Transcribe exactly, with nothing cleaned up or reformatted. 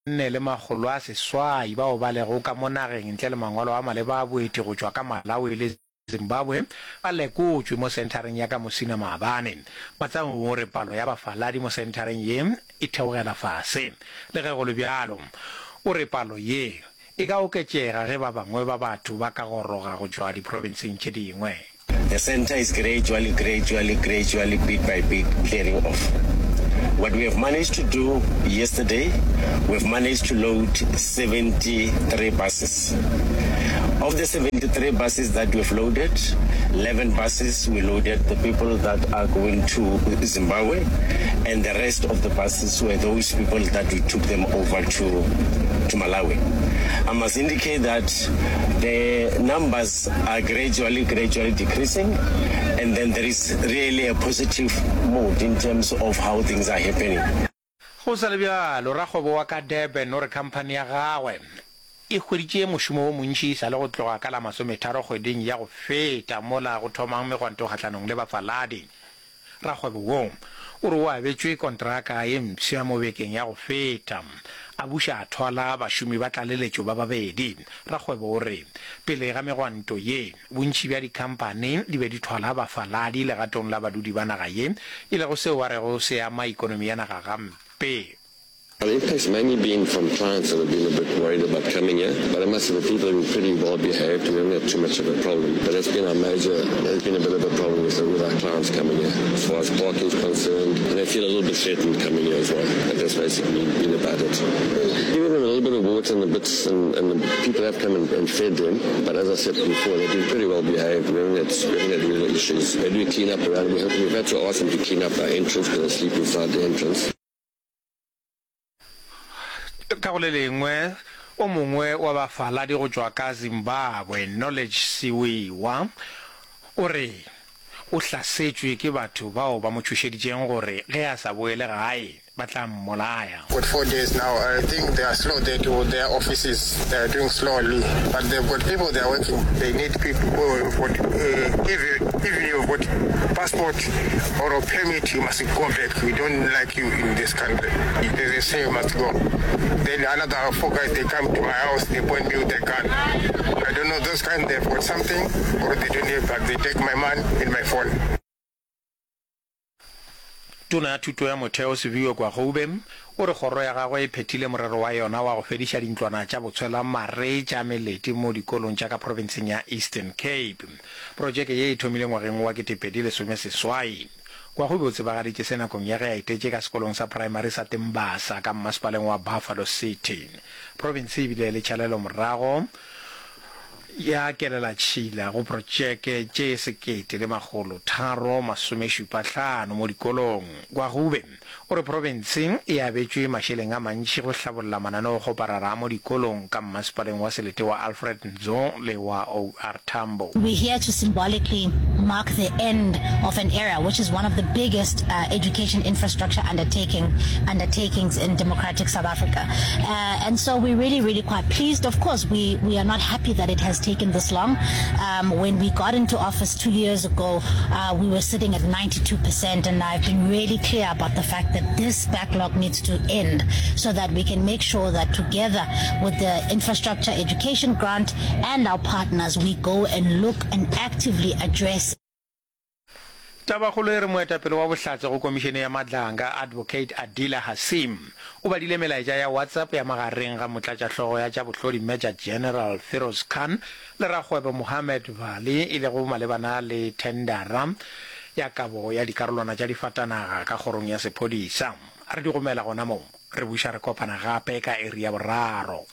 nne le makgolo a seswai bao ba lego ka mo nageng ntle le mangwalo a maleba a boeti go tšwa ka Malawi le Zimbabwe ba lekotšwe mo senthareng ya ka Musina maabane. Matsaung o re palo ya bafaladi mo senthareng ye e theogela fase. Le ge go le bjalo, o re palo ye e ka oketšega ge ba bangwe ba batho ba ka goroga go tšwa diprofenseng tše dingwe. The centre is gradually, gradually, gradually, bit by bit, clearing off. What we have managed to do yesterday, we've managed to load seventy-three buses. Of the seventy-three buses that we've loaded, eleven buses we loaded the people that are going to Zimbabwe, and the rest of the buses were those people that we took them over to, to Malawi. I must indicate that the numbers are gradually, gradually decreasing, and then there is really a positive mood in terms of how things are happening. Go sa le bjalo, rakgwebo wa ka Durban o re khamphani ya gagwe e hweditše mošomo wo montši e sa le go tloga ka la masometharo kgweding ya go feta mola go thomang megwanto kgahlanong le bafaladi. Rakgwebo wo o re o abetšwe kontraka ye mpsha mo bekeng ya go feta, a buša a thwala bašomi ba tlaleletšo ba babedi. Rakgwebo o re pele ga megwanto ye, bontši bja dikhamphani di be di thwala bafaladi legatong la badudi ba naga ye, e lego seo a rego se ama ekonomi ya naga gampe. The impact's mainly been from clients that have been a bit worried about coming here, but I must say the people have been pretty well behaved. We haven't had too much of a problem, but that's been our major, there's been a bit of a problem with, the, with our clients coming here. As far as parking is concerned, and they feel a little bit threatened coming here as well. But that's basically been about it. Giving them a little bit of water and the bits, and, and the people have come and, and fed them, but as I said before, they've been pretty well behaved. We haven't had, we haven't had real issues. They do clean up around. We have, we've had to ask them to clean up our entrance because they sleep inside the entrance. Ka go le lengwe, o mongwe wa bafaladi go tšwa ka Zimbabwe, Knowledge Siwiwa, o re o hlasetšwe ke batho bao ba mo tšhošeditšeng gore ge a sa boele gae ba tla mmolaya. Got four days now. I think they are slow. They do their offices. They are doing slowly, but they've got people. They are working. They need people who have got uh, even even you've got passport or a permit, you must go back. We don't like you in this country. They say you must go. Then another four guys, they come to my house, they point me with a gun. I don't know those kind, they've got something or they don't have, but they take my money and my phone. Tona ya Thuto ya Motheo Siviwe Gwarube o re kgoro ya gagwe e phethile morero wa yona wa go fediša dintlwana tša botshwelamare tša melete mo dikolong tša ka profenseng ya Eastern Cape. Projeke ye e thomile ngwageng wa ketepedi lesome seswai. Gwarube o tsebagaditše se nakong ya ge a etetše ka sekolong sa praemari sa Tembasa ka mmasepaleng wa Buffalo City. Profense e bile le tšhalelomorago ya kelelatšhila go projeke tše sekete le makgolo tharo masomešupa hlano mo dikolong. Gwarube o re profense e abetšwe mašeleng a mantši go hlabolla mananeokgoparara a mo dikolong ka mmasepaleng wa selete wa Alfred Nzo le wa O R Tambo. We're here to symbolically mark the end of an era, which is one of the biggest uh, education infrastructure undertaking, undertakings in democratic South Africa. Uh, and so we're really, really quite pleased. Of course, we, we are not happy that it has taken this long. Um, when we got into office two years ago, uh, we were sitting at ninety-two percent, and I've been really clear about the fact that this backlog needs to end so that we can make sure that together with the infrastructure education grant and our partners, we go and look and actively address. Tabakgolo e re moetapele wa bohlatse go komišene ya Madlanga, Advocate Adila Hassim, o badile melaetša ya WhatsApp ya magareng ga motlatšahlogo ya tša bohlodi Major General Firoz Khan le rakgwebo Mohammed Vali e lego malebana le thendara ya kabo ya dikarolwana tša difatanaga ka kgorong ya sephodisa. Re di gomela gona mo, re buša re kopana gape ka iri ya boraro.